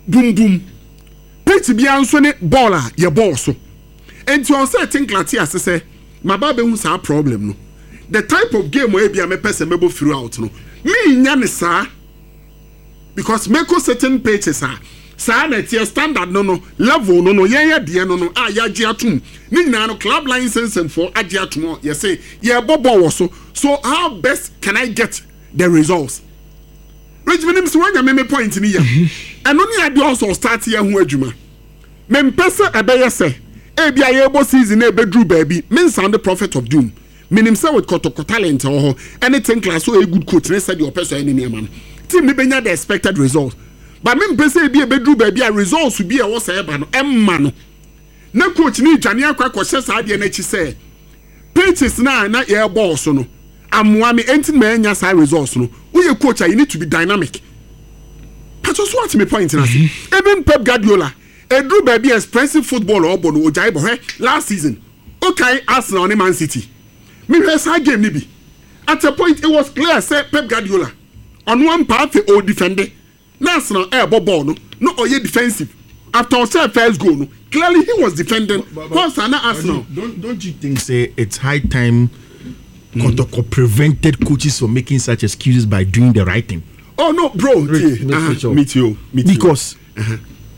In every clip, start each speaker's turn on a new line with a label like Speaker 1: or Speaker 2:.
Speaker 1: Bum bum. Pitch biara nso ne ball a yɛbɔɔ so. Nti ɔwɔ sɛ Tinkler te ase sɛ maba abɛhu saa problem no. The type of game a ebia mɛpɛ sɛ mɛbɔ throughout no, mennya no saa because mɛkɔ certain pitches a saa na ɛteɛ, standard no no, level no no, yɛn yɛ deɛ no no a yɛagye atom. Ne nyinaa no club licensing foɔ agye atom a yɛse yɛrebɔ ball wɔ so. So how best can I get the results? Rich menim sɛ woanya me me point no yam. Ɛno ne adeɛ ɔsɛ ɔstart yɛ ho adwuma. Mempɛ sɛ ɛbɛyɛ sɛ ebi a yɛrebɔ season na ɛbɛduru baabi me nsound prophet of doom. Menim sɛ with Kotoko talent ɛwɔ hɔ ɛne Tinkler so ɔyɛ good coach ne sɛdeɛ ɔpɛ sɛ ɔyɛ ne nneɛma no, team no bɛnya the expected result. But mempɛ sɛ ebi ɛbɛduru baabi a results bi a ɛwɔ sɛ ɛba no ɛmma no na coach no redwane akɔ akɔhyɛ saa adeɛ no akyi sɛ pitches no a na yɛrebɔ wɔ so no amoa me enti na manya saa results no. Woyɛ coach a you need to be dynamic. Pacho so wate me point no ase? Mm-hmm. Even Pep Guardiola ɛduru baabi a expressive football a ɔbɔ no ogyae bɔ. Hwɛ last season wokae Arsenal ne Man City, mehwɛ saa game no bi, at a point it was clear sɛ Pep Guardiola ɔno ampa afei ɔredefende na Arsenal ɛrebɔ ball no na ɔyɛ defensive after ɔhyɛɛ first goal no clearly he was defending whilst a na Arsenal.
Speaker 2: Don't you think say it's high time Kotoko prevented coaches from making such excuses by doing the right thing?
Speaker 1: Oh no bro, tie, me tie o, me tie o.
Speaker 2: Because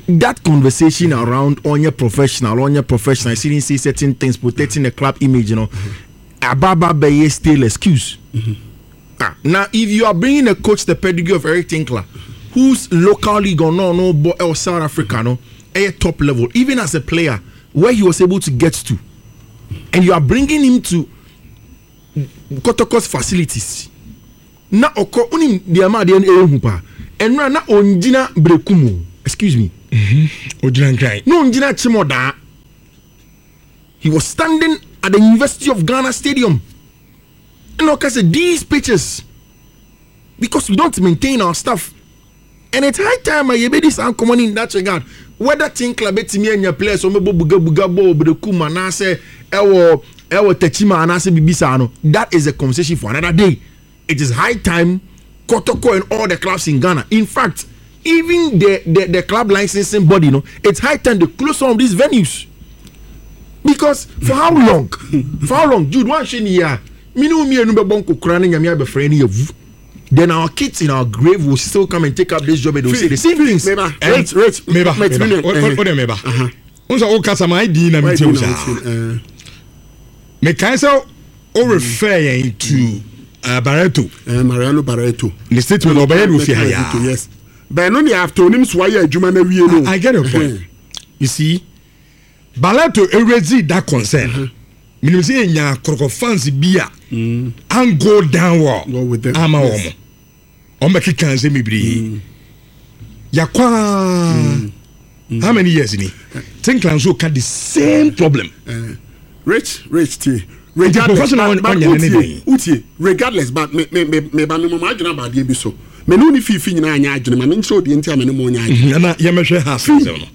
Speaker 2: that conversation around ɔnyɛ professional, ɔnyɛ professional, shouldn't say certain things, protecting the club image, you know, ababa bɛyɛ still excuse. Ah, now if you are bringing a coach the pedigree of Eric Tinkler, whose local league or no no but or South Africa no, a top level, even as a player, where he was able to get to, and you are bringing him to Kotoko's facilities. Na ɔkɔ wonim deɛ ɛma adeɛ no ɛyɛ hu paa, ɛnora na ɔngyina Berekum o, excuse me,
Speaker 3: Ɔgyina Nkran.
Speaker 2: Na ɔngyina Kyemɔdaa. He was standing at the University of Ghana Stadium. Ɛna ɔka sɛ these pitches, because we don't maintain our stuff, and it's high time a yɛbɛdi saa nkɔmmɔ no in that regard, whether Tinkler bɛtumi anya players ɔmɛbɔ bugabuga bɔ Berekum anaasɛ ɛwɔ ɛwɔ Tachima anaasɛ biribi saa no, that is a conversation for another day. It is high time Kotoko and all the clubs in Ghana, in fact even the club licensing body, no, it's high time they close some of these venues, because for how long, for how long, Jude one hyɛ ni yɛ a mene wo mmienu bɛbɔ nkokora ne Nyame abɛfrɛ ne yɛwu, then our kids in our grave will still come and take up this job and they will say the same things.
Speaker 1: Meba, Rich, Rich,
Speaker 3: meba, meba, o de meba. N sɛ o kasa ma ayi na mi ti o saa. Mekae sɛ o refer yɛn to Barreto.
Speaker 1: Mariano Barreto.
Speaker 3: Ne statement ɔbɛyɛ no ofie ha yaa.
Speaker 1: Yes. Bɛn no de after onim so wayɛ adwuma na wie no.
Speaker 3: I get your point. You see, Barreto erezi that concern. Menim sɛ yɛnya Kɔtɔkɔ fans bi a an go down well ama wɔn. Wɔn bɛ keka nsɛm bebree. Yakwa how many years ni? Tinkler nso ka the same problem.
Speaker 1: Rich, Rich tie. Regardless, but, but utie, utie, regardless, but me me me me ba me mo adwene aba adeɛ bi so. Me ne wo ne fiifi nyinaa nyɛ adwene, ma me nkyerɛ odeɛ nti a me ne mo nyɛ adwene.
Speaker 3: Ɛna yɛmɛhwɛ ha asɛm no.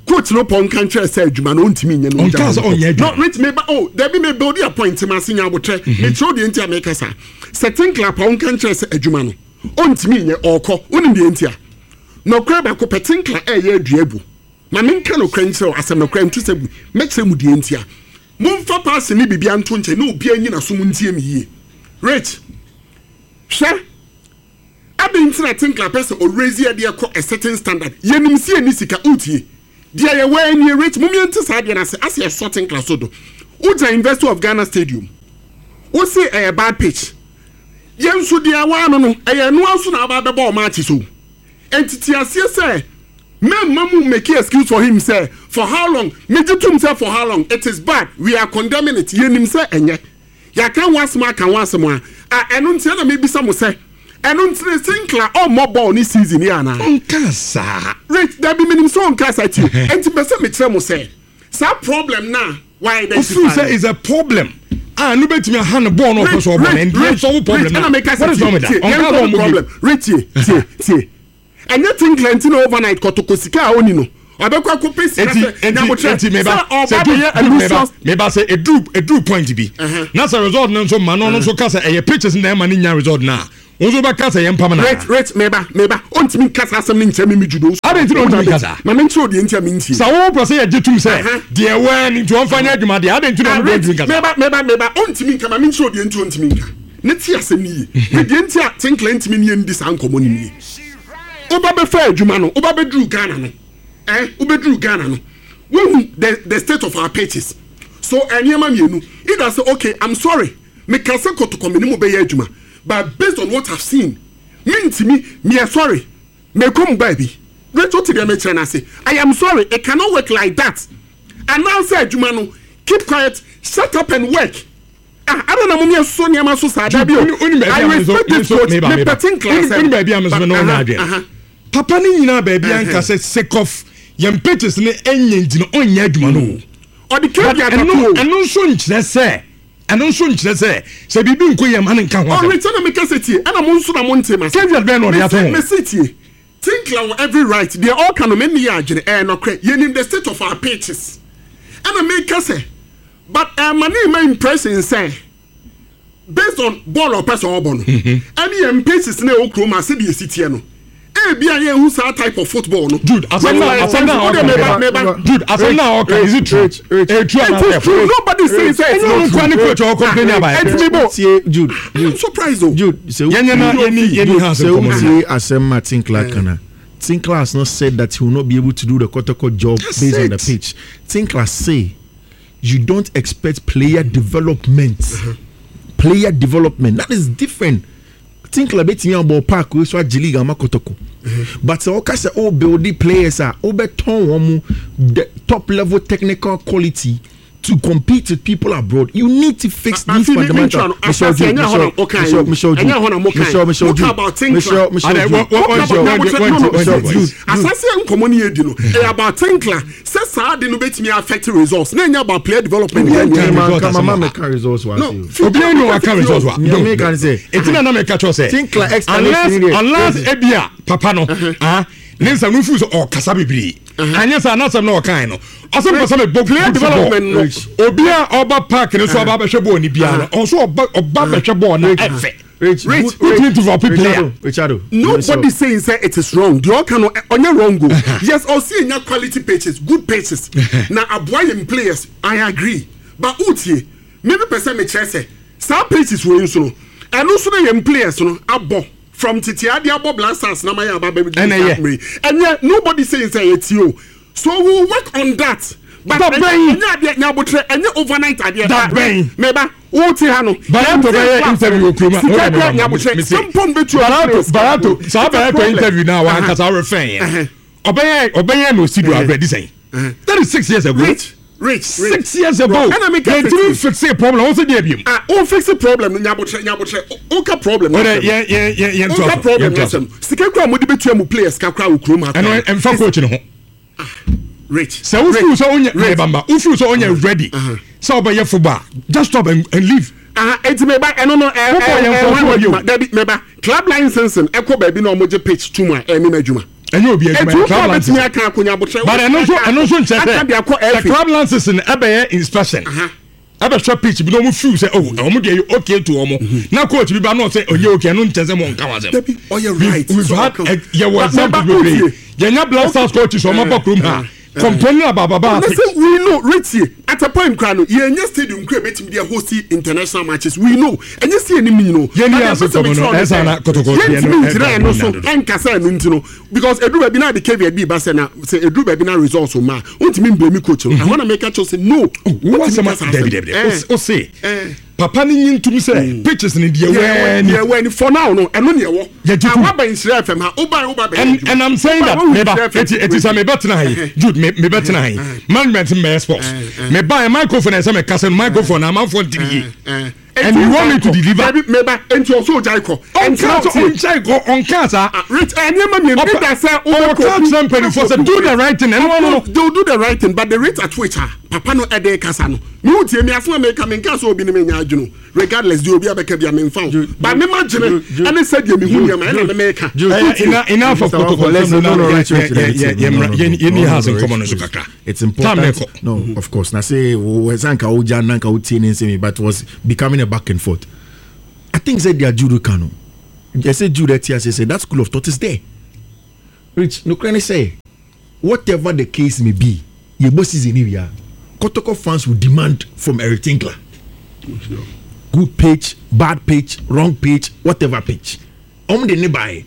Speaker 1: Coach no pɔ nka nkyerɛ sɛ adwuma no ɔntumi nyɛ no.
Speaker 3: Ɔnka sɛ ɔnyɛ adwuma.
Speaker 1: No, Rich, me ba, oh, dabi me build a point ma ase nya abotrɛ. Me kyerɛ odeɛ nti a meka saa. Sɛ Tinkler pɔ nka nkyerɛ sɛ adwuma no ɔntumi nyɛ, ɔkɔ. Wonim deɛ nti a? Nɔkorɛ baako pɛ, Tinkler ɛyɛ adua agu. Ma menka nokorɛ nkyerɛ wo, asɛm nokorɛ nto sɛ bu. Mɛkyerɛ mu deɛ nti a. Momfa paase ne biribiara nto nkyɛn na obiara nyi n'aso mu ntie me yie. Rich, hwɛ, adɛn nti na Tinkler pɛ sɛ ɔraise yɛn deɛ kɔ a certain standard? Yɛnim sɛ yɛnni sika, wotie? Deɛ yɛwɔ ara nie, Rich, mom yɛnte saa adeɛ no ase, asɛ yɛsɔ Tinkler so do. Wogyina University of Ghana Stadium, wose ɛyɛ bad pitch. Yɛn nso deɛ ɛwɔ ano no, ɛyɛ ɛno ara nso na aba abɛbɔ wo matches o. Enti te aseɛ sɛ mɛmma mo make excuse for him sɛ for how long, megye tom sɛ for how long, it is bad, we are condemning it, yɛnim sɛ ɛnyɛ, yɛaka ho asɛm aka ho asɛm a, a ɛno nti ɛna mebisa mo sɛ ɛno nti ne Sinclair ɔmmɔ bɔɔl ne season yi anaa?
Speaker 3: Ɔnkaa saa.
Speaker 1: Rich, dabi menim sɛ ɔnkaa saa, tie, enti mepɛ sɛ mekyerɛ mo sɛ saa problem no a wa identify
Speaker 3: Ofiri sɛ is a problem a no bɛtumi aha no bɔɔl no ɔpɛ sɛ ɔbɔ no, and yɛn solve problem no. What is wrong with that? Ɔnka sɛ ɔmmɔ
Speaker 1: problem. Rich, tie, tie, tie. Ɛnyɛ Tinkler nti na overnight kɔtɔkɔ sika a ɔni no ɔbɛkɔ akɔpɛ sika sɛ nyabotrɛ sɛ ɔba bɛyɛ Lucius.
Speaker 3: Meba sɛ eduru eduru point bi na sɛ result no nso ma no, ɔno nso ka sɛ ɛyɛ pitches na ɛma ne nya result no a. Wo nso wobɛka sɛ yɛmpam no
Speaker 1: Rich,
Speaker 3: anaa?
Speaker 1: Rich, meba, meba. Ɔntumi nka saa asɛm no nkyerɛ me, me Judo.
Speaker 3: Adɛn nti na ɔntumi nka saa?
Speaker 1: Ma menkyerɛ wo deɛ nti a mentie.
Speaker 3: Sɛ wopɛ sɛ yɛgye tom sɛ
Speaker 1: Aha.
Speaker 3: deɛ ɛwɔ ara ni nti ɔmfa nyɛ adwuma deɛ, adɛn nti na
Speaker 1: Ah,
Speaker 3: ɔno deɛ
Speaker 1: Rich,
Speaker 3: ɔntumi nka saa?
Speaker 1: meba, meba, meba. Ɔntumi nka, ma menkyerɛ wo deɛ nti a ɔntumi nka. Ne te asɛm no yie. Me deɛ nti a Tinkler ntumi ne yɛn ndi saa nkɔmmɔ no nie. Woba bɛfaa adwuma no, woba bɛduruu Ghana no, eh, wobɛduruu Ghana no, woahu the, the state of our pitches. So, nneɛma mmienu, either sɛ, okay, I'm sorry, meka sɛ kɔtɔkɔ me ne mo bɛyɛ adwuma, but based on what I've seen, mentumi, meyɛ sorry, mekɔ mu baabi. Rachel te deɛ mekyerɛ no ase. I am sorry, it cannot work like that. Anaasɛ adwuma no, keep quiet, shut up and work. Ah, adɛn na mom yɛsosɔ nneɛma so saa? Dabi o, I respect this coach, mepɛ Tinkler asɛm.
Speaker 3: Wone baabi a me nso me ne wo nyɛ adwene. Papa no nyinaa baabi a nka sɛ sake of yɛn pitches no ɛnyɛ nti no ɔnyɛ adwuma no o.
Speaker 1: Ɔde caveat ato o.
Speaker 3: Ɛno nso nkyerɛ sɛ ɛno nso nkyerɛ sɛ sɛ biribi nkɔ yie ma no nka ho asɛm.
Speaker 1: Ɔrekyɛ na meka sɛ tie, ɛna mo nso na mo nte m'ase.
Speaker 3: Caveat bɛn na ɔde ato ho?
Speaker 1: Mese tie, Tinkler wɔ every right, deɛ ɔreka no me nne yɛ adwene, ɛyɛ nɔkorɛ, yɛnim the state of our pitches. Ɛna meka sɛ But ɛma ne mma impression sɛ based on bɔɔl a ɔpɛ sɛ ɔbɔ no ɛne yɛn paces na ɛwɔ kurom a sɛdeɛ ɛsi teɛ no ebia yɛnhu saa type of football no.
Speaker 3: Jude asɛm na asɛm na ɔka meba Jude asɛm na ɔka is it true? Ɛyɛ true
Speaker 1: It is true, nobody is saying say it's not true.
Speaker 3: Ɛnyɛ ɔno coach ɔkɔ complain about it.
Speaker 1: Ɛntumi bɔ.
Speaker 2: Tie Jude.
Speaker 1: I'm surprised o.
Speaker 2: Jude sɛ
Speaker 3: yɛnyɛ na yɛni yɛni ha asɛm kɔmɔ.
Speaker 2: Sɛ wotie asɛm ma Tinkler kana. Tinkler has not said that he will not be able to do the Kotoko job
Speaker 3: That's
Speaker 2: based
Speaker 3: it.
Speaker 2: on the pitch. Tinkler say you don't expect player development. Player development that is different. Tinkler betumi abɔ park wey so agye league ama Kotoko. But sɛ ɔka sɛ o build the players a wobɛtɔn wɔn mu the top level technical quality to compete with people abroad you need to fix these fundamentals.
Speaker 1: Michelle Jude, Michelle, Michelle, Michelle Jude, Michelle Jude, Michelle, Michelle Jude, Michelle Jude. Asase nkɔmɔ ni yɛ di no ɛyɛ about Tinkler sɛ saa de no bɛtumi affect results na ɛnyɛ about player development.
Speaker 2: Obi ɛni wa ka results wa.
Speaker 3: Obi ɛni wa ka results wa. Eti na na mi ka kyerɛ sɛ.
Speaker 2: Tinkler explanation
Speaker 3: unless ebia papa no ah ne nsa no fu sɛ ɔkasa bebree. Anyɛ sɛ anasɛm na ɔkae no ɔsɛ mpɛ sɛ mebɔ
Speaker 1: player development no
Speaker 3: obi a ɔba park no so ɔba bɛhwɛ bɔɔl no biara no ɔnso ɔba ɔba bɛhwɛ bɔɔl no ɛfɛ
Speaker 2: Rich,
Speaker 1: Rich,
Speaker 3: wotumi develop player.
Speaker 2: Richardo,
Speaker 1: Nobody saying say it is wrong. The all can onye wrong go. Yes, I'll see nya quality pitches, good pitches. Na aboa yɛn players. I agree. But utie, maybe person me kyerɛ sɛ saa pitches wei nso no, ɛno nso na yɛn players no abɔ from tete ade abɔ Black Stars na ma yɛ aba bɛ
Speaker 3: Ɛna ɛyɛ.
Speaker 1: Ɛnyɛ nobody saying say ɛyɛ tie o. So we will work on that. But
Speaker 3: Da bɛn?
Speaker 1: ɛnyɛ adeɛ nyabotrɛ ɛnyɛ overnight adeɛ.
Speaker 3: Da bɛn?
Speaker 1: Meba wo te ha no.
Speaker 3: Barato bɛyɛ interview wɔ kurom a
Speaker 1: Sika kura nyabotrɛ. Sɛmpɔn bɛ tu
Speaker 3: Barato Barato saa Barato interview na wa ankasa ɔrefɛn yɛn ɔbɛyɛ ɔbɛyɛ na osi do abirɛ di sɛn that is 6 years ago.
Speaker 1: Rich, rich,
Speaker 3: 6 years ago.
Speaker 1: Ɛna mi ka
Speaker 3: yɛn ti fix problem ɔn sɛ deɛ bi mu.
Speaker 1: Ah, o fix problem no nyabotrɛ nyabotrɛ o ka problem.
Speaker 3: Ɔdɛ yɛn yɛn yɛn yɛn
Speaker 1: O
Speaker 3: to
Speaker 1: ka
Speaker 3: aso
Speaker 1: problem
Speaker 3: yɛn to aso.
Speaker 1: n'asɛm. Sika kura mo de bɛ tua mu players kakra wɔ kurom ha.
Speaker 3: Ɛno ɛnfa coach ne ho.
Speaker 1: Rich.
Speaker 3: Sɛ wofiw sɛ onyɛ mɛbamba wofiw sɛ onyɛ ready sɛ ɔbɛyɛ football just stop and leave.
Speaker 1: Ah, eti meba ɛno no ɛ
Speaker 3: Wobɔ
Speaker 1: ɛ
Speaker 3: yɛn
Speaker 1: ɛ
Speaker 3: nkurɔfoɔ
Speaker 1: wɔn
Speaker 3: yi o.
Speaker 1: adwuma dabi meba club licensing ɛkɔ baabi na ɔmo gye pitch tum a ɛne n'adwuma.
Speaker 3: Ɛnyɛ obi adwuma
Speaker 1: Etu
Speaker 3: yɛ
Speaker 1: kɔ
Speaker 3: club
Speaker 1: bɛtumi
Speaker 3: licensing.
Speaker 1: aka akonya abotire.
Speaker 3: But ɛno nso nkyerɛ
Speaker 1: Aka de akɔ
Speaker 3: sɛ
Speaker 1: FA.
Speaker 3: club licensing ɛbɛyɛ inspection ɛbɛhwɛ pitch bi na ɔmo feel sɛ oh ɔmo deɛ yɛ okay to ɔmo na coach bi ba na ɔsɛ ɔyɛ okay ɛno nkyerɛ sɛ mo nka wa sɛm.
Speaker 1: Dabi ɔyɛ right.
Speaker 3: We've
Speaker 1: So
Speaker 3: had
Speaker 1: ɔka-
Speaker 3: yɛwɔ
Speaker 1: But
Speaker 3: example
Speaker 1: meba
Speaker 3: bebree
Speaker 1: wotie.
Speaker 3: yɛnya Black Stars coaches ɔmo aba kurom ha complaining about baba pitch.
Speaker 1: Listen, we know Richie at a point kra no yɛnyɛ stadium kra betumi de host international matches, we know ɛnyɛ si anim ni no.
Speaker 3: Yɛn ni ase kɔmɔ no, ɛsa na kɔtɔkɔ deɛ no,
Speaker 1: yɛntumi ngyina
Speaker 3: ɛda
Speaker 1: ɛno so
Speaker 3: dodo.
Speaker 1: ɛnkasa ɛno nti no because eduru baabi na de caveat bi ba sɛ na sɛ eduru baabi na results ma wontumi mblame coach no. Ɛhɔ na meka kyerɛ sɛ no.
Speaker 3: Wo asɛm
Speaker 1: wontumi kasa
Speaker 3: dabi
Speaker 1: asɛm.
Speaker 3: dabi dabi o se papa ne nyi ntum sɛ pitches ni deɛ wɛɛ ni.
Speaker 1: Deɛ wɛɛ ni for now no ɛno ni ɛwɔ.
Speaker 3: Yɛgye tom.
Speaker 1: Waba Nhyira FM ha woba woba bɛyɛ
Speaker 3: And
Speaker 1: adwuma.
Speaker 3: and I'm saying that
Speaker 1: Woba, wohu
Speaker 3: meba
Speaker 1: Nhyira FM
Speaker 3: eti eti sɛ meba tena ha yi Jude me meba tena ha yi management mbɛyɛ sports meba yɛ microphone ɛsɛ mɛ kasa no microphone na amanfoɔ ntiri yie and you want me to deliver.
Speaker 1: Dabi meba nti ɔsɔ ogya ikɔ.
Speaker 3: Ɔnka sɛ ɔnkyɛ kɔ ɔnka saa.
Speaker 1: Rich nneɛma mmienu
Speaker 3: Ɔpɛ-
Speaker 1: ida sɛ
Speaker 3: ɔka kyerɛ mpanimfoɔ sɛ do the right thing ɛno ano no.
Speaker 1: They will do the right thing, but the rate at which ah papa no ɛde kasa no mi hu tie mi asoma mi ka mi nka sɛ obi ni mi nya adwene regardless di obi abɛka bi a mi nfa o but mi ma gyene ɛne sɛ deɛ mi hu nneɛma ɛna mi mi ka.
Speaker 3: Enough of protocol.
Speaker 2: Let's-
Speaker 3: No,
Speaker 2: no, no, Rich, Rich, Rich, no, no, no,
Speaker 3: yɛni
Speaker 2: no,
Speaker 3: house
Speaker 2: no,
Speaker 3: nkɔmɔ no
Speaker 2: Rich,
Speaker 3: so
Speaker 2: Rich.
Speaker 3: kakra.
Speaker 2: It's
Speaker 3: Time
Speaker 2: important.
Speaker 3: ne kɔ.
Speaker 2: No, of course. Na say sanka oja nanka otie ne nsɛm, but was becoming a back and forth. I think said their judo kano. Yɛsɛ Jude ɛte ase sɛ that school of thought is there. Rich, nokorɛ ne sɛ whatever the case may be, yɛbɔ season ni wia, Kotoko fans will demand from Eric Tinkler. Good pitch, bad pitch, wrong pitch, whatever pitch. Ɔmo de ne bae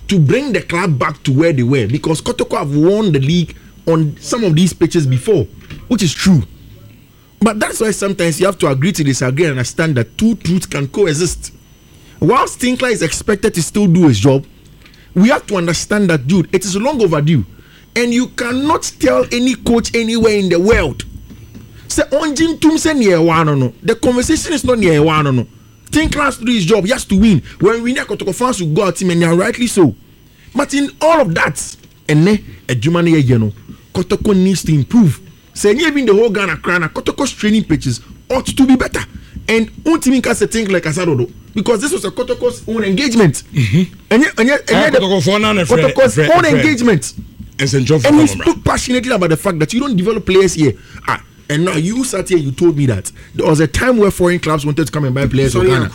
Speaker 2: to bring the club back to where they were because Kotoko have won the league on some of these pitches before, which is true. But that's why sometimes you have to agree to disagree and understand that two truths can coexist. Whilst Tinkler is expected to still do his job, we have to understand that, dude, it is long overdue. And you cannot tell any coach anywhere in the world. Sɛ ɔngye ntum sɛ nea ɛwɔ ano no, the conversation is not nea ɛwɔ ano no. Tinkler has to do his job. He has to win. When we win, Kotoko fans will go out him and they are rightly so. But in all of that, ɛnɛ adwuma no yɛyɛ no, Kotoko needs to improve. Sɛ ɛnyɛ even the whole Ghana koraa na Kotoko's training pitches ought to be better. And wontumi nka sɛ Tinkler kasa dodo because this was a Kotoko's own engagement. Ɛnyɛ ɛnyɛ ɛnyɛ the Kotoko's own engagement. And he spoke passionately about the fact that you don't develop players here. Ah, and now you sat here, you told me that there was a time where foreign clubs wanted to come and buy players for Ghana.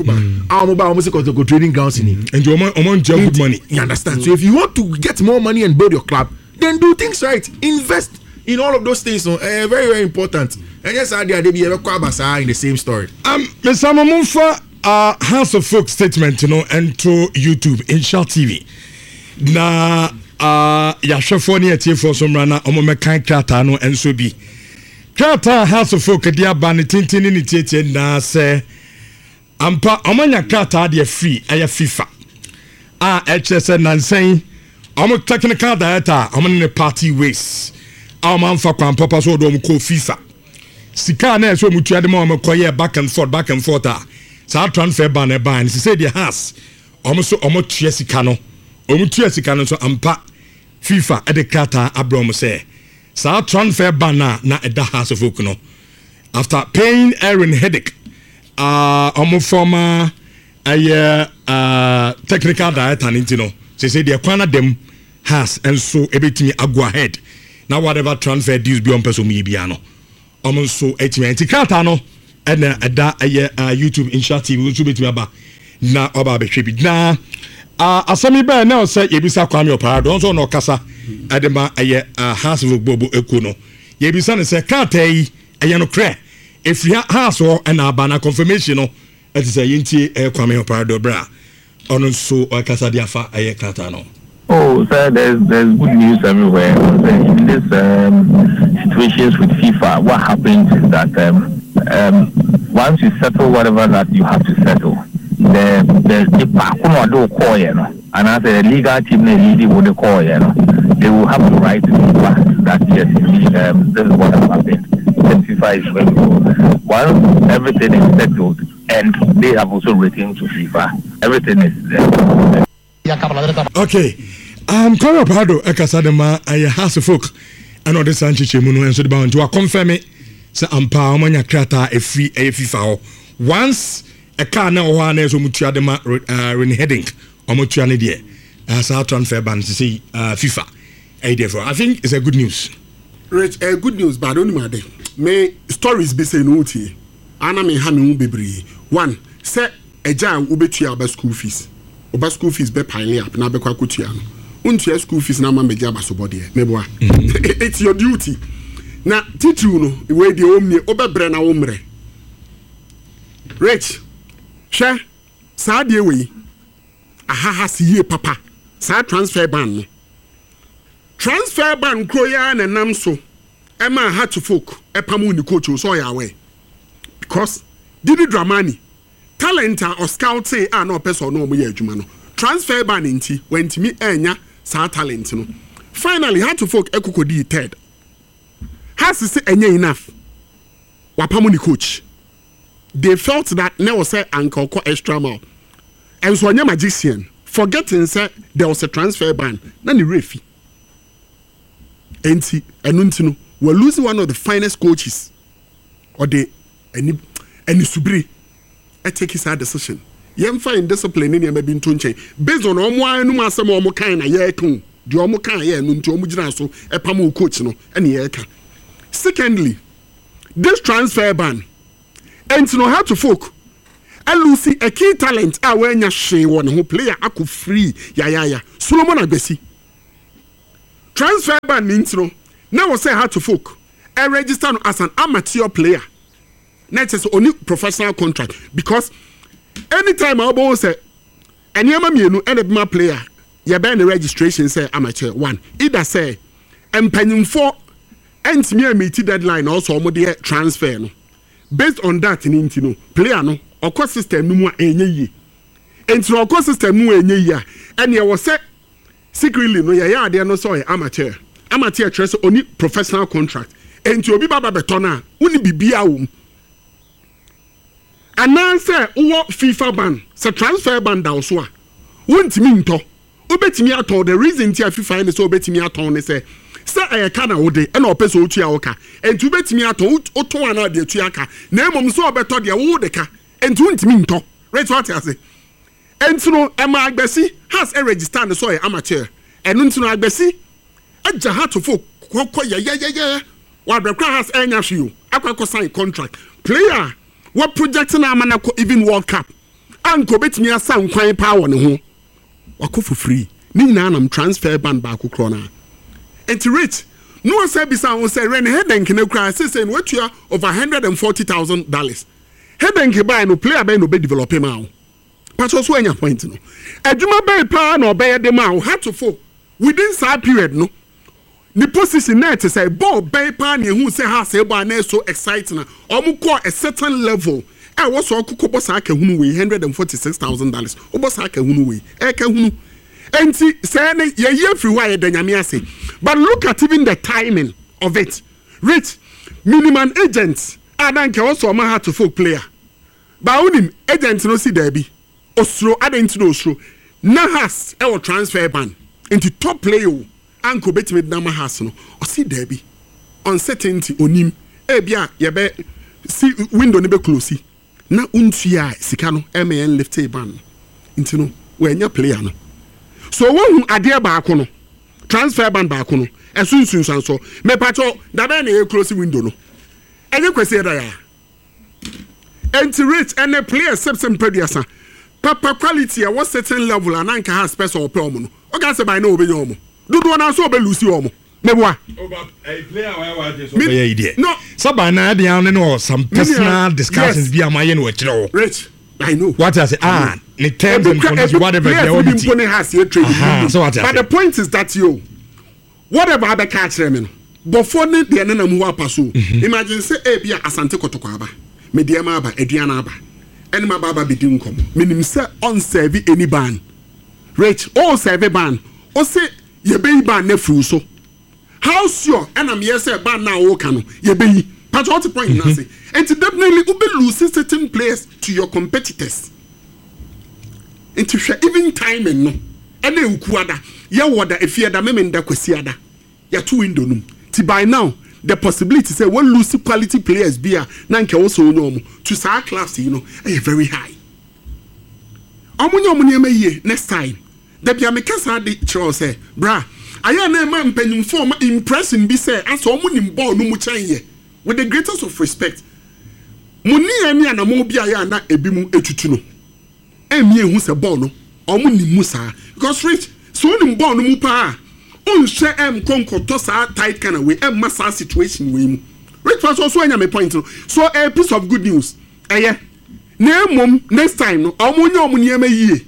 Speaker 2: Ah, omo ba omo se Kotoko training grounds in.
Speaker 3: And you omo good money.
Speaker 2: You understand? So if you want to get more money and build your club, then do things right. Invest in all of those things. So, very very important. And yes, I did be in the same story.
Speaker 3: Mr. Momfa House of Folk statement no ɛnto YouTube Insha TV na yɛahwɛfoɔ ne atiefoɔ so mmra na ɔmo mɛkan krataa no nso bi. Krataa House of Folk de aba ne tenten ne ne tietie nyinaa sɛ ampa ɔmo anya krataa deɛ firi ɛyɛ FIFA a ɛkyerɛ sɛ nansɛn ɔmo technical director a ɔmo ne ne part ways a ɔmo amfa kwan papa so ɔde ɔmo kɔɔ FIFA, sika a na ɛsɛ ɔmo tua de ma ɔmo kɔyɛ back and forth, back and forth a saa transfer ban no ɛban no sisɛ deɛ Hearts ɔmo so ɔmo tua sika no, ɔmo tua sika no nso ampa FIFA ɛde krataa abrɛ ɔmo sɛ saa transfer ban a na ɛda Hearts of Oak no, after paying Aaron Hiddink, ɔmo former ɛyɛ technical director ne nti no, sese deɛ kwan na dɛm Hearts nso ebetumi ago ahead na whatever transfer deals bi ɔmpɛ so ɔmo yɛ bia no, ɔmo nso etumi. Nti krataa no ɛna ɛda ɛyɛ YouTube Insha TV nso betumi aba na ɔba abɛhwɛ bi. Na asɛm yi bɛyɛ na ɔsɛ yɛbisa Kwame Ɔpaado, ɔnso ɔna ɔkasa ɛde ma ɛyɛ Hearts of Oak ekuo no. Yɛbisa no sɛ krataa yi ɛyɛ no korɛ efiri Hearts hɔ ɛna aba na confirmation no ɛte sɛ yɛntie ɛyɛ Kwame Ɔpaado berɛ a ɔno nso ɔkasa de afa ɛyɛ krataa no.
Speaker 4: Oh, sir, there's good news everywhere. In this situations with FIFA, what happens is that once you settle whatever that you have to settle, the the call, and as a legal team, the leading would call, they will have to write to FIFA that yes, indeed, this is what has happened. Then FIFA is ready. Once everything is settled, and they have also written to FIFA, everything is there.
Speaker 3: Okay, Kwame Ɔpaado ɛkasa de ma ɛyɛ Hearts of Oak ɛna ɔde saa nkyekyɛmu no nso de ba wɔn nti wakɔnfɛmi sɛ ampa wɔn anya krataa efiri ɛyɛ FIFA hɔ. Once ɛkaa na ɛwɔ hɔ a na ɛsɛ wɔn tua de ma Rene Hiddink, wɔn tua ne deɛ saa transfer ban sisi FIFA ɛyɛ deɛ fɔ. I think it's a good news.
Speaker 1: Rich, good news, but onim ade me stories bi sɛ no wotie ana me ha me ho bebree. One, sɛ ɛgya a wobɛtua aba school fees, ɔba school fees bɛ pile up na abɛkɔ akɔtua no, wontua school fees na ama mbɛgye abasobɔdeɛ meboa. It's your duty na titiriw no wei deɛ ɔmmie wobɛbrɛ na wo mmerɛ. Rich, hwɛ saa deɛ wei ahaha se yie papa. Saa transfer ban no, transfer ban kuro yi ara na nam so ɛma Hearts of Oak ɛpam ne coach o sɛ ɔyɛ aware because Didi Dramani talent a ɔscoute a na ɔpɛ sɛ ɔno ɔmo yɛ adwuma no, transfer ban nti wantumi ɛnya saa talent no. Finally, Hearts of Oak ɛkokɔ di third. Hearts sɛ ɛnyɛ enough, wapam ne coach. They felt that na wɔ sɛ anka ɔkɔ extra mile, ɛnso ɔnyɛ magician, forgetting sɛ there was a transfer ban na ne werɛ fi. Nti ɛno nti no were losing one of the finest coaches. Ɔde ɛni ɛnisubiri ɛtake saa decision. Yɛmfa indiscipline ne nneɛma bi nto nkyɛn based on ɔmo anum asɛm a ɔmo kan na yɛreka o deɛ ɔmo kan yɛ no nti ɔmo gyina so ɛpam o coach no ɛne yɛreka. Secondly, this transfer ban nti no Hearts of Oak. Ɛlose a key talent a wanya hwee wɔ ne ho, player akɔ free yayaya, Solomon Agbesi. Transfer ban ne nti no, na ɛwɔ sɛ Hearts of Oak register no as an amateur player. Na ɛkyɛ sɛ ɔni professional contract because anytime a wobɛhu sɛ nneɛma mmienu ɛna ɛbɛma player yɛbɛn ne registration sɛ amateur one, either sɛ mpanyinfoɔ ɛntumi ameet deadline na ɔsɔ wɔn de transfer no, based on that ne nti no, player no ɔkɔ system no mu a ɛnyɛ yie. Nti na ɔkɔ system no mu a ɛnyɛ yie a, ɛnea ɛwɔ sɛ secretly no yɛyɛ adeɛ no sɛ ɔyɛ amateur. Amateur kyerɛ sɛ ɔni professional contract, nti obi ba ba bɛtɔ no a, wonni biribiara wɔ mu, anaasɛ wowɔ FIFA ban, sɛ transfer ban da wo so a, wontumi ntɔ. Wobɛtumi atɔn. The reason nti a FIFA yɛ ne sɛ wobɛtumi atɔn ne sɛ ɛyɛ ka na wode ɛna ɔpɛ sɛ otua wo ka, nti wobɛtumi atɔn. Wotɔn anaa de atua ka, na mmom sɛ ɔbɛtɔ deɛ wo de ka, nti wontumi ntɔ. Right, wate ase? Nti no ɛma Agbasi Hearts register ne sɛ ɔyɛ amateur. Ɛno nti no Agbasi agya Hearts of kɔkɔ yɛyɛyɛyɛ wabɛkora Hearts ɛnya hwee o, akɔ sign contract, player wɔ project na ama na kɔ even World Cup a nka obetumi asa nkwan paa wɔ ne ho, wakɔ for free. Ne nyinaa nam transfer ban baako korɔ naa. Nti Rich no ɔsɛ bisa ho sɛ Rene Hiddink ne kura sese no watua over $140,000. Hiddink baa no, player bɛyɛ na ɔbɛ develop ma wo pastor so anya point no, adwuma bɛyɛ paa na ɔbɛyɛ de ma wo Hearts of Oak within saa period no? Ne position na ɛte sɛ bɔɔl bɛn paa na ehu sɛ ha sɛ bɔɔl na so exciting na ɔmo kɔ a certain level ɛ wɔ sɛ ɔkokɔ bɔ saa kahunu wei $146,000, wobɔ saa kahunu wei, ɛkahunu. Nti sɛ ne yɛyi afiri hɔ a, yɛda Nyame ase. But look at even the timing of it. Rich, minimum agent a na nka ɔsɔ ɔma Hearts of Oak player ba, wonim agent no si daabi, osuro. Adɛn nti na osuro? Na Hearts ɛwɔ transfer ban, nti top player o anka obetumi de nama Hearts no, ɔsi daabi, uncertainty, onim ebi a yɛbɛ si window no bɛ close na ntua sika no ɛmɛ yɛn lift ban no, nti no wɔanya player no. So wohu adeɛ baako no, transfer ban baako no ɛso nsunsuanso. Mepatɔ dabɛn na yɛ close window no? Ɛnyɛ Kwasi ɛda ya. Nti Rich, ɛnɛ players sɛbsɛ mpaduasa papa quality ɛwɔ certain level a na nka Hearts pɛ sɛ ɔpɛ ɔmo no, ɔka sɛ by now ɔbɛnya ɔmo dodoɔ naa so ɔbɛ lose ɔmo meboa.
Speaker 3: Bɛyɛ yi deɛ
Speaker 1: no
Speaker 3: sábà na ɛde ano ne wɔ some personal discussions bi a ma yɛ no wɔ kyerɛ wɔ.
Speaker 1: Rich, I know.
Speaker 3: What I say, ah, ne terms and conditions, whatever
Speaker 1: bi a
Speaker 3: wɔn
Speaker 1: ti mpo ne Hearts yɛ trade.
Speaker 3: So what I
Speaker 1: But the point is that yo, whatever abɛka akyerɛ me no, bɔfoɔ ne deɛ nenam hɔ apa so. Imagine sɛ ebi a Asante Kɔtɔkɔ aba, Medeɛma aba, Aduana aba, ɛne ma ba aba bɛdi nkɔmmɔ. Menim sɛ ɔnserve any ban. Rich, ɔnserve ban, ɔsɛ yɛbɛyi ban no afiri so. How sure ɛna meyɛ sɛ ban no a wɔka no yɛbɛyi? Patro, ɔte point no ase? Nti definitely wobɛ lose certain players to your competitors. Nti hwɛ even timing no, ɛna ewukuada yɛwɔ da, efiada, memenda, kwasiada yɛto window no mu. Ti by now the possibility sɛ wɔ lose quality players bi a na nka ɛwɔ sɛ onya ɔmo to saa clubs yi no ɛyɛ very high. Ɔmo nyɛ ɔmo nneɛma yie next time. Dabi a meka saa de kyerɛ wo sɛ bra ayɛ na ɛma mpanyinfoɔ ɔma impression bi sɛ asɛ ɔmo nim bɔɔl no mu kyɛn yɛ. With the greatest of respect, mo ne yɛn ne anamɔ bi a yɛ a na ebi mu etutu no ɛnmi ehu sɛ bɔɔl no ɔmo nim mu saa, because Rich, sɛ onim bɔɔl no mu paa, ɔnhyɛ ɛm kɔ nkɔtɔ saa tight kind wei ɛmma saa situation wei mu. Rich fa so ɔso anya me point no. So a piece of good news ɛyɛ, na emom next time no, ɔmo nyɛ ɔmo nneɛma yie.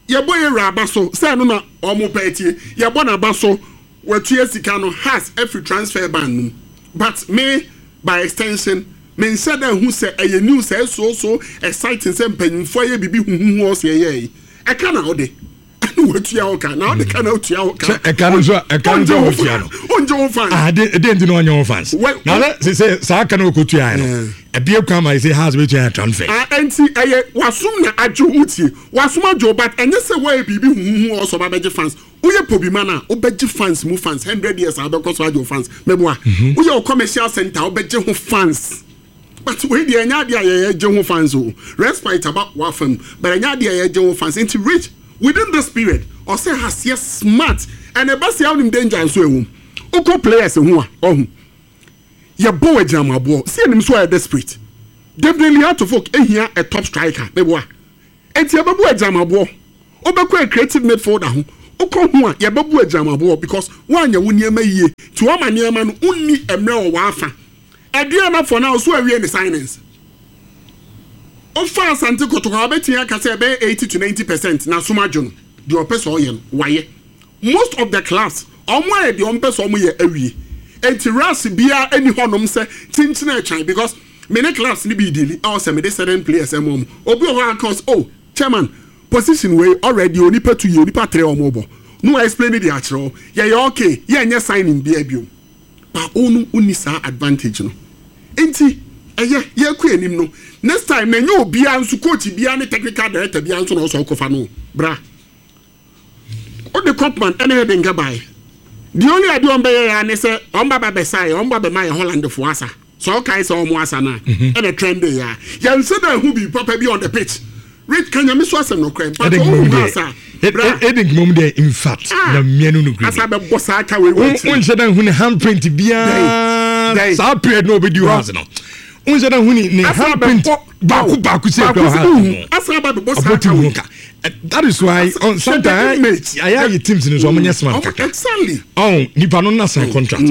Speaker 1: Yɛbɔ yɛ wura aba so sɛ ɛno na ɔmo pɛ tie, yɛbɔ n'aba so, watua sika no, Hearts afiri transfer ban no mu. But me, by extension, me nhyɛ dɛ hu sɛ ɛyɛ news ɛyɛ so so exciting sɛ mpanyinfoɔ ayɛ bibi huhuhu. Ɔsɛ ɛyɛ yi ɛka na ɔde ɛna watua wo ka na ɔde ka na otua wo ka.
Speaker 3: Ɛka no nso, ɛka no nso a wɔtua no.
Speaker 1: Ɔngye wo fans.
Speaker 3: Ah, de de nti na ɔnyɛ wo fans. Na sɛ saa ka no wɔkɔtua yɛ no, ɛbie kwan ma sɛ Hearts bɛtua yɛ transfer.
Speaker 1: Ah, nti ɛyɛ wasum na adwo, wotie, wasum adwo, but ɛnyɛ sɛ wɔyɛ biribi huhuhu ɔsɔ ba bɛgye fans. Woyɛ pobi man a wobɛgye fans mu fans 100 years a wobɛkɔ so agye wo fans. Mɛboa, woyɛ wo commercial center, wobɛgye ho fans, but wei deɛ ɛnyɛ adeɛ a yɛyɛ gye ho fans o. Respite aba wafam, but ɛnyɛ adeɛ a yɛgye ho fans. Nti Rich, within this period ɔsɛ aseɛ smart, and ɛba sɛ wonim danger nso ɛwɔ mu. Wokɔ players ho a, ɔho yɛbɔ wɔ agyinamaboɔ sɛ yɛnim so ɔyɛ desperate. Definitely Hearts of Oak ehia a top striker meboa. Enti yɛbɛbu agyinamaboɔ. Wobɛkɔ a creative midfielder ho. Wokɔ ho a yɛbɛbu agyinamaboɔ because woanyɛ wo nneɛma yie. Nti woama nneɛma no wonni mmerɛ wɔ w'afa. Aduana for now so awie ne signings. Wofa Asante Kotoko a wobɛtumi aka sɛ ɛbɛyɛ 80 to 90 percent n'asom adwo no. Deɛ ɔpɛ sɛ ɔyɛ no wayɛ. Most of the clubs ɔmo ayɛ deɛ ɔmo pɛ sɛ ɔmo yɛ awie. Enti rush biara nni hɔnom sɛ kyinkyin ɛtwan because me ne clubs no bi deali ɛwɔ sɛ mede certain players ɛma ɔmo. Obi wɔ hɔ a ɔka ɔse oh chairman position wei already onipa tu yɛ onipa tre ɔmo bɔ na wa explain de akyerɛ wo yɛyɛ okay yɛnyɛ signing biara biom. But wo no wonni saa advantage no. Enti ɛyɛ yɛkɔ anim no next time na ɛnyɛ obiara nso coach biara ne technical director biara nso na ɔsɛ ɔkɔfa no bra. Wode Kopman ne Hiddink bae. The only adeɛ wɔn bɛyɛ ya ne sɛ wɔn ba ba bɛsa yɛ, wɔn ba bɛma yɛ Hollandfoɔ asa. Sɛ ɔkae sɛ wɔn asa no a, ɛna trende yɛ a. Yɛnhyɛ da nhu biribi papa bi on the pitch. Rich, ka Nyame so asɛm nokorɛ. Mpakyɛ wohu ha asa a, bra.
Speaker 3: Hiddink mmom deɛ, in fact, na mmea no nokorɛ
Speaker 1: ni. Asa bɛbɔ saa ka wei wɔ akyire.
Speaker 3: Wonhyɛ da nhu ne handprint biara saa period na ɔbɛdi hɔ ase no. Wonhyɛ da nhu ne handprint baako baako sɛ ekura ha ɔbɔ team ho ka. That is why sometimes ayɛ ayɛ teams no so ɔmo nyɛ smart kakra. Ɔn nipa no na sign contract.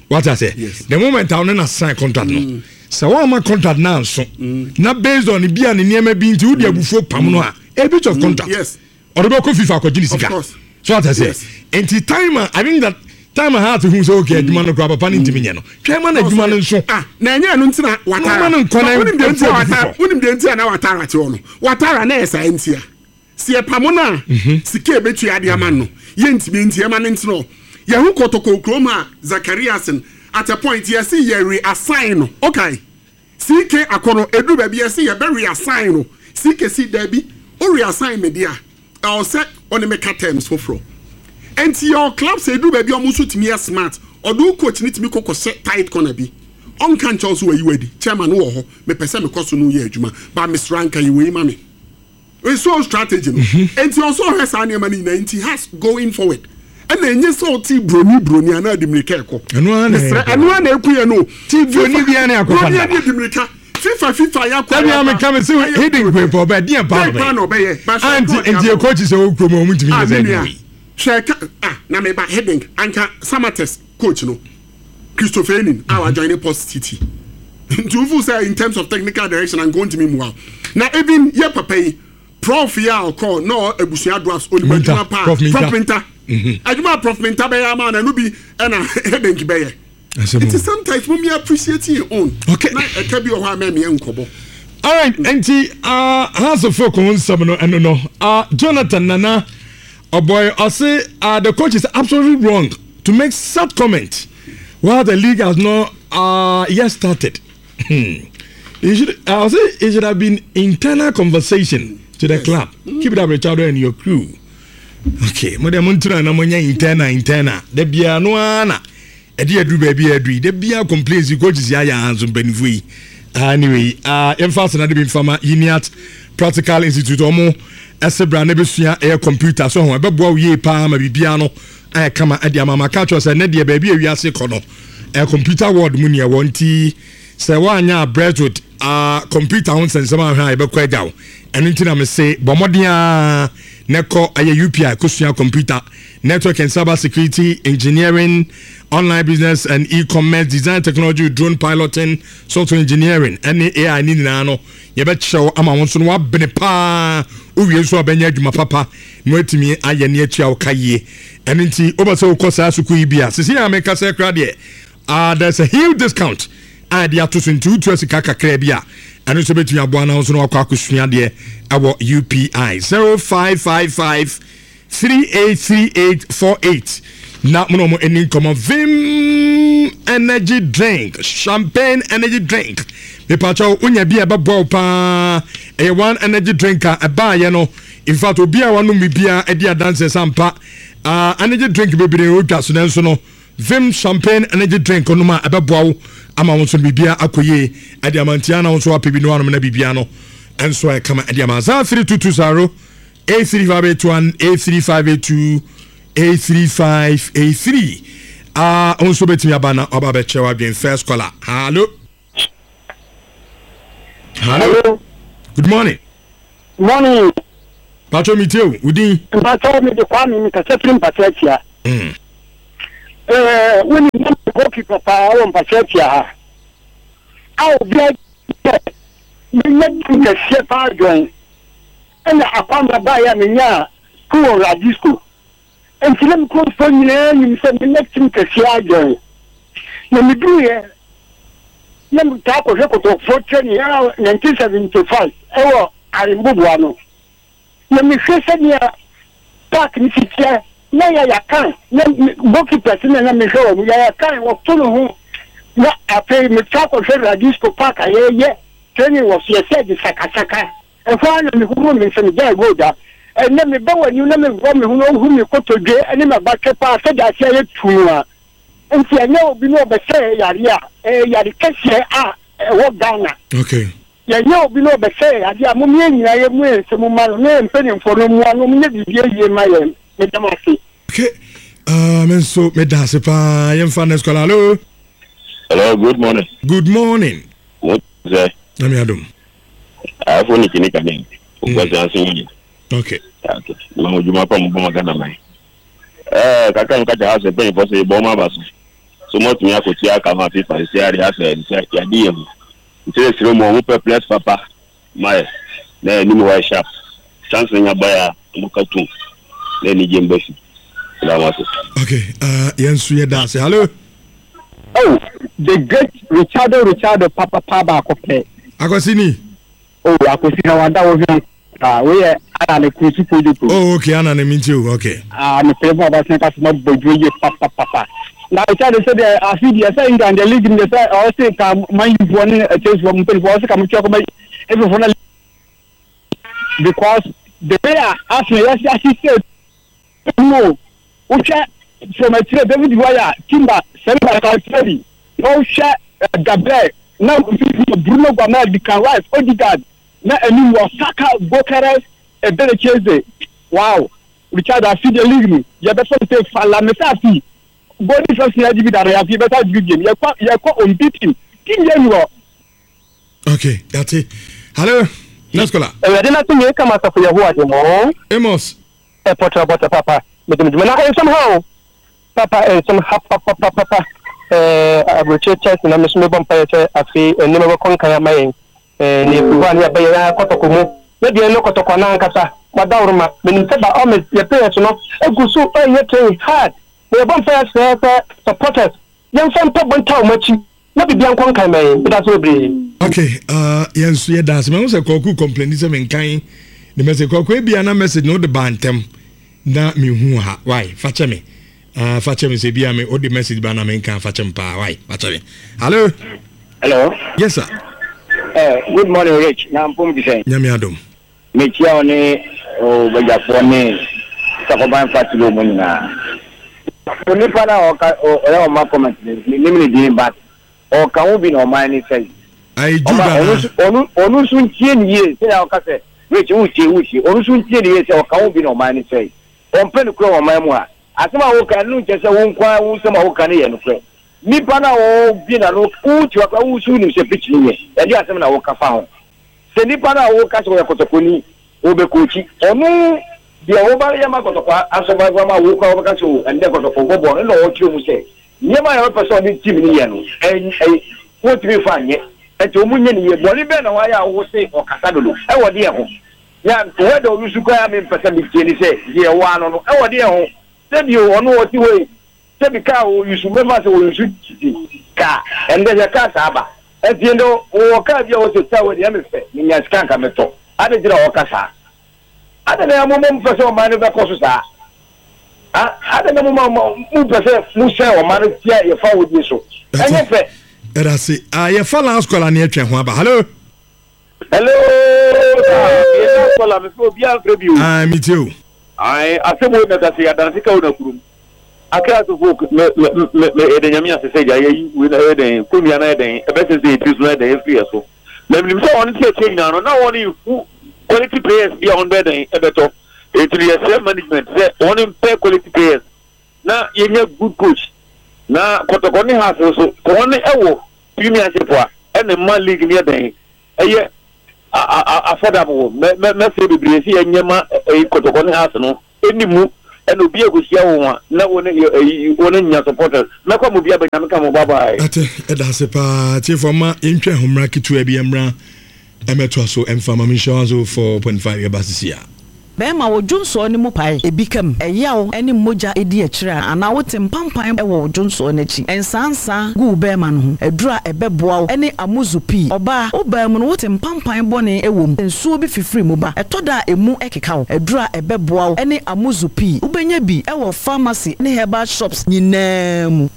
Speaker 3: What I say? The moment a ɔno na sign contract no, sɛ wɔn ama contract na nso na based on bi a ne nneɛma bi nti wodi abufuo pam no a, a breach of contract. Ɔde bɛkɔ FIFA akɔgye ne sika. So what I say? Nti time a I think that time a heart hu sɛ okay adwuma no koraa papa no ntumi nyɛ no. Twɛn ma na adwuma no nso.
Speaker 1: Ah, na ɛnyɛ ɛno nti na Watara.
Speaker 3: Na nkɔ na
Speaker 1: wonim deɛ nti a Watara, wonim deɛ nti a na Watara te hɔ no. Watara na ɛyɛ saa nti a. Si ɛpamo no a, sika a ɛbɛtua de ama no, yɛntumi nti ɛma no ntena hɔ. Yɛho kɔtɔkɔ kurom a Zachariasen at a point yɛse yɛ reassign no. Okay. CK Akɔnɔ, ɛduru baabi yɛse yɛbɛ reassign no, CK se daabi, wo reassign me deɛ a, ɛwɔ sɛ wo ne me ka terms foforɔ. Ɛnti yɛwɔ clubs a ɛduru baabi a wɔn nso tumi yɛ smart, ɔde wo coach no tumi kɔ kɔhyɛ tight corner bi, ɔnka nkyerɛ wo sɛ wayi wo adi, chairman wowɔ hɔ, mepɛ sɛ mekɔ so ne wo yɛ adwuma, but mesrɛ anka yɛ wei ma me. Nso strategy no nti ɔsɛ ɔhwɛ saa nneɛma no nyinaa nti has going forward ɛna enye sɛ ɔte broni broni anaa di mirika ɛkɔ mesrɛ ɛno ara na eku yɛ no
Speaker 3: ti broni bi ɛne akɔfa
Speaker 1: broni ɛne di mirika fifa fifa yɛ akɔ
Speaker 3: dabi ame kame sɛ hidden kwe pɔ ɔbɛ deɛ paa
Speaker 1: na ɔbɛyɛ
Speaker 3: anti nti ekɔ sɛ ɔwɔ kurom ɔmo ntumi nyɛ sɛ ɛdi wei
Speaker 1: hwɛ ka ah na meba hidden anka samates coach no Christopher Enin a wa join Port City nti wofu sɛ in terms of technical direction anka ontumi mmoa na even yɛ papa yi prof yi a ɔkɔ na abusua dwarfs onim adwuma paa prof Minta mhm. adwuma prof Minta bɛyɛ ama na ɛno bi ɛna headache bɛyɛ nti sometimes mo mi appreciate your own
Speaker 3: okay.
Speaker 1: na ɛka bi wɔ hɔ a mɛmeyɛ nkɔbɔ.
Speaker 3: Alright, nti House of Folk ho nsɛm no ɛno no Jonathan Nana Ɔbɔe ɔse ah the coach is absolutely wrong to make such comment while the league has not uh, yet started. Hmm. It should, uh, ɔse it should have been internal conversation to the club. Keep it up Richardo and your crew. Okay, mo deɛ mo ntena na mo nyɛ internal internal. Da biara no ara na Ɛde aduru baabi a aduru yi, da biara complaints yi coaches yi ayɛ aha nso mpanimfoɔ yi. Anyway, uh, yɛmfa asena de bi mfa ma Uniat Practical Institute ɔmo ɛsɛ bra na ɛbɛsua ɛyɛ computer so ho ɛbɛboa wo yie paa ma biribiara no ayɛ kama ɛde ama ma ka kyerɛ sɛ ɛnɛ deɛ baabi a wiase kɔ no ɛyɛ computer world mu neɛ wɔ nti sɛ woanyɛ a Brentwood uh, computer ho nsɛnsɛm ahwɛ a yɛbɛkɔ agya wo ɛno nti na mese bɔ mmɔden a na ɛkɔ ɛyɛ UPI kɔsua computer Network and Cyber Security, Engineering, Online Business and E-commerce, Design Technology, Drone Piloting, Software Engineering, ɛne AI ne nyinaa no yɛbɛkyerɛ wo ama wo nso no wabene paa wowie nso a bɛnyɛ adwuma papa na watumi ayɛ ne atua wo ka yie ɛno nti wobɛ sɛ wokɔ saa sukuu yi bi a sisi a meka sɛ kora deɛ uh, there's a huge discount a ɛde ato so nti wotua sika kakra bi a ɛno nso bɛtumi aboa na wo nso no wakɔ akɔsua deɛ ɛwɔ UPI 0555 383848 na mo na ɔmo ani nkɔmɔ vim energy drink champagne energy drink mepakyɛw wonya bi a ɛbɛboa wo paa ɛyɛ one energy drink a ɛbaayɛ no in fact obi a wanom biribiara adi adanseɛ sɛ ampa uh, energy drink bebree odwa so nanso no vim champagne energy drink nom a ɛbɛboa wo ama wo nso biribiara akɔ yie ɛde ama ntia na wo nso wapɛ bi no anom na biribiara no ɛnso ɛkama ɛde ama saa 3220 83581 83582 83583 ah wo nso bɛtumi aba na ɔba bɛkyerɛ w'adwen first caller hallo. Hello. Good morning.
Speaker 5: Morning.
Speaker 3: Patro mi tie o, wo din?
Speaker 5: Mpatsɔ mi de Kwame mi kasa firi Mpatsɔ Atia. Mm. Ɛɛ wo ni nam goalkeeper paa wɔ Mpatsɔ Atia ha. A obi a sɛ menya team kɛseɛ paa join. Ɛna akwamra baeɛ a menya school wɔ Radisco. Enti na me kuromfoɔ nyinaa nim sɛ menya team kɛseɛ adwɛn. Na meduruiɛ na metaa kɔhwɛ kɔtɔkɔfoɔ training a 1975 ɛwɔ Aremboboa no. Na mehwɛ sɛdeɛ park no si teɛ na Yaya Khan na goalkeepers na na mehwɛ wɔn. Yaya Khan wɔto ne ho na afei metaa kɔhwɛ Radisco park a yɛyɛ training wɔ so yɛsɛ de sakasaka. Ɛhɔ ara na mehohoroo me nsa, migyaee gold da. Ɛnnɛ, meba w'anim na mebɔ me ho na wohu me kotodwe ne m'abatwɛ paa sɛdeɛ ase ayɛ tumm a. Nti ɛnyɛ obi na ɔbɛsɛe yareɛ a, ɛyɛ yare kɛseɛ a ɛwɔ Ghana.
Speaker 3: Okay.
Speaker 5: Yɛnyɛ obi na ɔbɛsɛe yadeɛ a, mom yɛn nyinaa yɛmmue yɛn nsam mma no na yɛn mpanimfoɔ no mmoa no wɔnyɛ biribi ayie mma yɛn. Meda mo ase.
Speaker 3: Okay, me nso meda ase paa. Yɛmfa next caller. Hello.
Speaker 6: Hello, good morning.
Speaker 3: Good morning.
Speaker 6: Mo sɛ.
Speaker 3: Nyame adom.
Speaker 6: Afo ne kini kane. Okwasi ase yi.
Speaker 3: Okay.
Speaker 6: Okay. Ma mo dwuma pa mo bɔ ma Ghana man. Eh, kakra mo kakyɛ house mpanyinfoɔ sɛ yɛbɔ ɔmo aba so. So mo atumi akɔtua aka ma FIFA sisi ade asɛ sɛ yɛade yɛ ho. Nti yɛ srɛ mu ɔmo pɛ players papa ma yɛ na anim hɔ ayɛ sharp. Chance no nya ba yɛ a ɔmo ka tum na anigye mba fi. Meda mo ase.
Speaker 3: Okay, yɛn nso yɛda ase. Hello.
Speaker 5: Oh, the great Richardo Richardo papapa baako pɛ.
Speaker 3: Akwasi ni.
Speaker 5: Oh, Akwasi na wada wo hwɛ ah, wei yɛ Ana ne kuru si kojo kuro.
Speaker 3: Oh, okay, Ana ne minti o, okay.
Speaker 5: Ah, me pere mu abasɛn kasi ma bɔ dwuma yie papapapa. Na Richardo sɛ deɛ afi deɛ sɛ England deɛ league no deɛ sɛ ɔwɔ se ka Man U foɔ ne Chelsea foɔ mpanyinfoɔ ɔwɔ se ka mo twɛ kɔma efefoɔ na because the way a Arsenal yɛsi ahyehyɛ mu o wohwɛ from akyire David Raya Timber Saliba Calafiori na wohwɛ eh, Gabriel na mfimfini Bruno Guimaraes Declan Rice Odegaard na anim wɔ Saka Gyökeres Eberechi Eze wow Richard afi deɛ league no yɛbɛfa no sɛ fala mesa afi golden first yɛ agye bi dada yɛ afi yɛbɛsa agye bi biom yɛkɔ yɛkɔ unbeaten team yɛ ni hɔ.
Speaker 3: Okay, yate. Hello, next caller.
Speaker 7: Awurade n'asomdwoe ka m'asafo Yehowa de mo.
Speaker 3: Amos.
Speaker 7: Ɛpɔtɔ bɔtɔ papa mede me dwuma na nsɛm ha o papa nsɛm ha papapapa ɛɛ aburokyire Chelsea na me so mebɔ mpaeɛ sɛ afei nneɛma bɛkɔ nkan ama yɛn ɛɛ na efiri hɔ a ne yɛbɛ yɛn ara kɔtɔkɔ mu ne deɛ no kɔtɔkɔ no ankasa wadaworoma menim sɛ ba ɔmɛ yɛ players no egu so ɛyɛ training hard na yɛbɔ mpaeɛ sɛ sɛ supporters yɛmfa mpaebɔ ntaa wɔn akyi na biribiara nkɔ nkan ma yɛn. Meda ase bebree.
Speaker 3: Okay, yɛn nso yɛda ase. Mahu sɛ Kwaku complain sɛ menkan ne message. Kwaku ebia na message no wode baa ntɛm na mehu ha. Why? Fa kyɛ me. Fa kyɛ me sɛ ebia me wode message ba na menka fa kyɛ me paa. Why? Fa kyɛ me. Hello.
Speaker 8: Hello.
Speaker 3: Yes sir.
Speaker 8: Good morning Rich. Na mpom te sɛn?
Speaker 3: Nyame adom.
Speaker 8: Mekyia wo ne wo badwafoɔ ne Sakoban Fatilo mo nyinaa. Onipa no a ɔka ɔyɛ ɔma comment no mennim ne din but ɔka ho bi na ɔman no sɛe.
Speaker 3: Ayi Jude
Speaker 8: Ɔma ɔno
Speaker 3: anaa?
Speaker 8: nso ɔno ɔno nso ntie ne yie sɛnea ɔka sɛ Rich wotie wotie ɔno nso ntie ne yie sɛ ɔka ho bi na ɔman no sɛe. Ɔmpɛ nokorɛ wɔ ɔman mu ha. Asɛm a woka no nkyerɛ sɛ wo nko ara wo nsɛm a woka no yɛ nokorɛ. Nipa no a ɔbue n'ano wote hɔ koraa wo nso wonim sɛ pitch no nyɛ ɛdeɛ asɛm na woka fa ho. Sɛ nipa no a woka sɛ ɔyɛ kɔtɔkɔni, ɔbɛkookyi, ɔno deɛ woba yɛ ma kɔtɔkɔ asɔfo ama wo koraa wobɛka sɛ o ɛndɛ kɔtɔkɔ bɔ bɔɔl no na ɔkyerɛ mu sɛ nneɛma a yɛbɛpɛ sɛ ɔne team no yɛ no ɛn wɔntumi mfa nyɛ nti wɔn nyɛ ne yie. Bɔne bɛn na wayɛ a wo se ɔkasa dodo ɛwɔ deɛ ho? Na word a ɔuse koraa a mempɛ sɛ metie ne sɛ deɛ ɛwɔ ano no ɛwɔ deɛ ho? Sɛ bio ɔno ɔte hɔ yi Sɛbi kaa wɔ yusu mɛfa sɛ wɔ yusu titi kaa ɛndɛ hwɛ kaa saa ba ɛnti ɛndɛ wɔ kaa bi a wɔ sɛ kaa wɔ deɛ ɛmɛ fɛ me nya sika nka mɛ tɔ adɛ nti na wɔ ka saa adɛ na mo mo mpɛ sɛ ɔman no bɛ kɔ so saa a adɛ na mo ma mo mpɛ sɛ mo sɛ ɔman no tia yɛ fa wɔ die so ɛnyɛ fɛ.
Speaker 3: Ɛda se ah yɛ fa last call a ne yɛ twɛn ho aba hello.
Speaker 9: Hello sir, me yɛ last caller, me fɛ obi anfrɛ bio.
Speaker 3: Ah me tie o.
Speaker 9: Ae asɛm wei mɛka sɛ yɛadanse ka wo na kurom. Akra so folk me me me me yɛda Nyame ase sɛ gya yɛyi wei na ɛyɛ dɛn kɔnnua no ayɛ dɛn ɛbɛsensɛn yɛ tiri so no ayɛ dɛn afiri yɛ so. Na menim sɛ wɔn te akyire nyinaa no na wɔn nhu quality players bi a wɔn bɛyɛ dɛn ɛbɛtɔ. Enti no yɛsrɛ management sɛ wɔn mpɛ quality players na yɛnya good coach na Kɔtɔkɔ ne Hearts nso sɛ wɔn ɛwɔ premiership a ɛna ɛma league no yɛ dɛn ɛyɛ. Affordable mɛ mɛ mɛsrɛ bebree sɛ yɛnyɛ ma ɛyi kɔtɔkɔ ne house no ɛni mu ɛna obi ɛkɔhyia wɔn a na wɔn ɛyi wɔn nya supporters mɛkɔ mo bi aba nyame ka mo bye bye.
Speaker 3: Ate ɛda ase paa tiefo ma yɛntwa ɛho mmra ketewa bi ɛmmra ɛmɛtoa so ɛmfa ma menhyɛ 104.5 yɛba sisi a.
Speaker 10: Bɛrima, wo dwonsɔɔ no mu pae, ebi ka mu, ɛyaw ne mogya di akyire a, anaa wote mpampan wɔ wo dwonsɔɔ no akyi. Nsaansaa gu wo bɛrima no ho. Aduru a ɛbɛboa wo ne amuzu pii. Ɔbaa, wo baa mu no wote mpampan bɔne wɔ mu, nsuo bi fifiri mu ba. Ɛtɔ da a emu keka wo. Aduru a ɛbɛboa wo ne amuzu pii. Wobɛnya bi wɔ pharmacy ne herbal shops nyinaa mu.